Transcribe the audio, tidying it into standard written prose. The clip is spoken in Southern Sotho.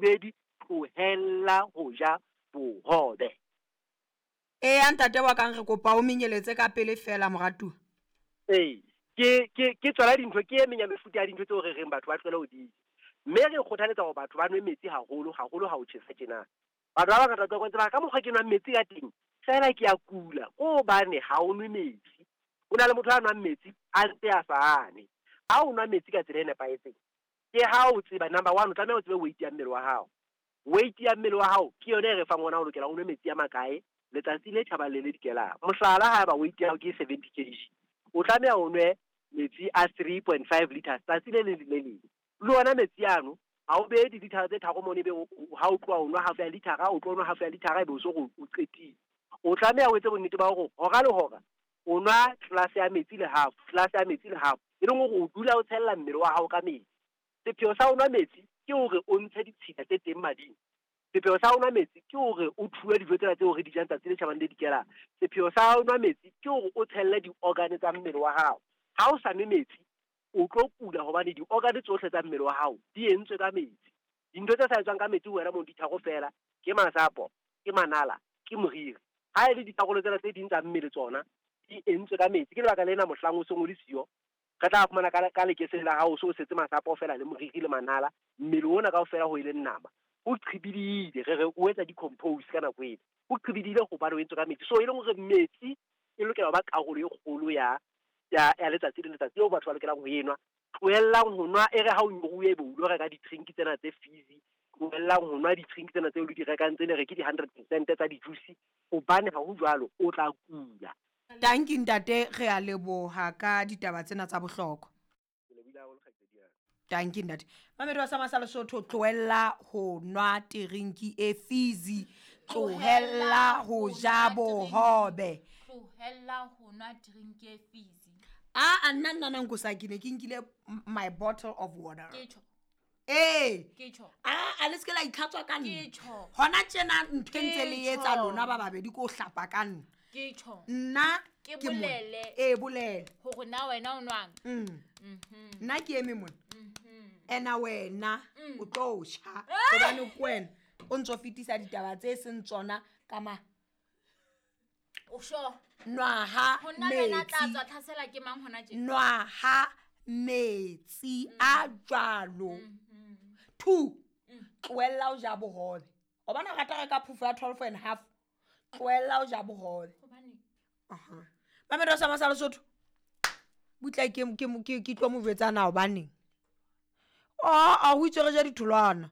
Bobedi, tlohella ho ja bohobe. Eya ntate wa kang re kopa o menyeletse ka pele fela moratuwa. Ee, ke ke ke tsona dintho ke e meng ya mefuta ya dintho tseo re reng batho ba tlohele ho di ja. Mme re kgothaletsa hore batho ba nwe metsi haholo, haholo ha ho tjhesa tjena. Batho ba bangata ba tseba ka mokgwa ke nwang metsi ka teng, fela ke a kula. Ke hobane ha o nwe metsi. Ho na le motho a nwang metsi a ntse a sa ane. Ha o nwa metsi ka tsela e nepahetseng, ke ha o tseba number one, o tlameha o tsebe weight ya mmele wa hao. Weight ya mmele wa hao ke yona e re fang ona o lokela o nwe metsi a makae letsatsi le tjhabang le le dikelang. Mohlala, haeba weight ya hao ke 70 kg, o tlameha o nwe metsi a 3.5 liters tsatsi le leng le le leng. Le ona metsi ano ha o behe dilithara tse tharo mono, ebe ha o tloha o nwa half ya lithara, o tlo nwa half ya lithara ebe o so o qetile. O tlameha o etse bonnete ba hore hora le hora o nwa glass ya metsi le half, glass ya metsi le half, e leng hore o dula o tshella mmele wa hao ka metsi. Sepheo sa ho nwa metsi ke hore o ntshe ditshila tse teng mading. Sepheo sa ho nwa metsi ke hore o thuwe dijo tsena tseo re di jang tsatsi le tjhabang le dikelang. Sepheo sa ho nwa metsi ke hore o tshelle di-organ tsa mmele wa hao. Ha o sa nwe metsi, o tlo kula hobane di-organ tsohle tsa mmele wa hao di entswe ka metsi. Dintho tse sa etswang ka metsi ho wena mono di tharo fela, ke masapo, ke manala, ke moriri. Ha e le dikarolo tsena tse ding tsa mmele tsona di entswe ka metsi. Ke lebaka lena mohlang o seng o le siyo, re tla fumana ka lekeseng la hao o so o setse masapo fela le moriri le manala, mmele ona kaofela ho e leng nama o qhibidile. Re re o etsa decompose ka nako ena, o qhibidile hobane o entswe ka metsi. So e leng hore metsi e lokela ho ba karolo e kgolo ya ya letsatsi le letsatsi eo batho ba lokelang ho enwa. Tlohellang ho nwa e re ha o nyoruwe ebe o lo reka di-drink tsena tse fizzy. Tlohellang ho nwa di-drink tsena tseo le di rekang tse le re ke di-100% tsa di-juice, hobane ha ho jwalo o tla kula. Tanki ntate, re a leboha ka ditaba tsena tsa bohlokwa. Ke lebohile haholo, kgaitsedi ya ka. Tanki ntate. Mamedi wa Sama sa Lesotho, tlohella ho nwa terinki e fizzy, tlohella ho ja bohobe. Tlohella ho nwa drink e fizzy. A nna nna nko sa ke ne ke nkile my bottle of water. Ke tjho. Ee. Ke tjho. A le se ke la itlhatswa ka nna. Ke tjho. Hona tjena ntho e ntse le Ke etsa tjho. lona ba babedi ke ho hlapa ka nna. Ke tjho. Nna Ke ke mona. bolele. Ee, bolele. Hore na wena o nwang. Nna ke eme mona. Ena wena o tlo tjha hobane ke wena o ntso fetisa ditaba tse seng tsona ka ma. O sure? Nwaha Ho nna le wena tla metsi. tswa tlhasela ke mang hona tje? Nwaha metsi a jwalo. 2, tlohella ho ja bohobe. O bona o rata ho reka phofo ya 12 and half. Tlohella ho ja bohobe. Hobaneng? Aha. Mamedi wa Sama sa Lesotho. Butla ke tlo mo jwetsa na hobaneng? A ho itswe re ja ditholwana.